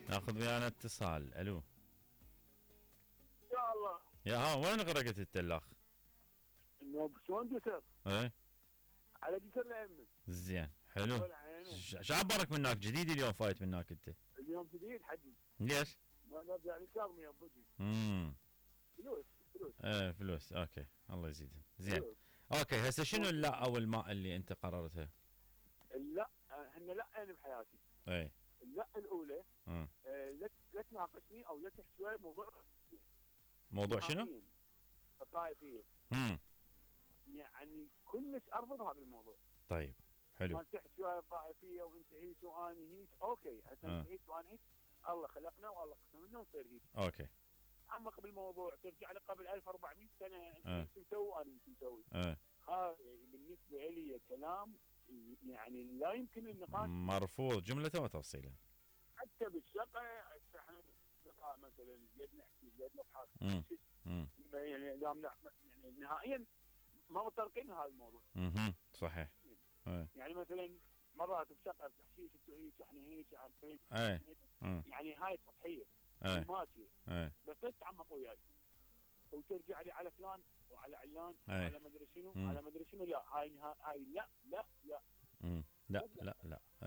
ناخذ ويانا اتصال. الو. يا الله. يا ها وين غرقت انت الاخ؟ انه شلون جسر؟ ايه على جسر الأئمة. زين حلو. ولا عينه. شعبرك من هناك جديد اليوم فايت من هناك انت؟ اليوم جديد حدي. ليش؟ ما نرجع للشرم يوم بجي. فلوس. ايه فلوس. اوكي الله يزيدهم. زين. فلوس. اوكي هسه شنو اللا او الماء اللي انت قررتها؟ لا هن لا يعني بحياتي. ايه. اللا الاولى امم لا تناقشني او لا تحكي شوي موضوع شنو؟ الطائفيه. امم يعني كلش ارفض هذا الموضوع. طيب حلو. ما تحكي شويه الطائفيه وانت هيك وانا هيك، اوكي هسه انت هيك وانا هيك، الله خلقنا والله قسمنا ونصير هيك. اوكي. تعمق بالموضوع، ترجع لقبل 1400 سنه انت ايش مسوي وانا ايش مسوي. هذا بالنسبه لي كلام يعني لا يمكن النقاش. مرفوض جمله وتفصيلا. حتى بالشقه احنا اصدقاء مثلا قد نحكي قد نضحك يعني يعني نهائيا ما متطرقين لهذا الموضوع. صحيح. يعني مثلا مرات بشقه تحكي هيك احنا هيك عارفين. يعني هاي سطحيه ماشيه. بس لا تتعمق وياي وترجع لي على فلان وعلى علان وعلى مدري شنو على مدري شنو. لا هاي لا لا لا لا لا لا.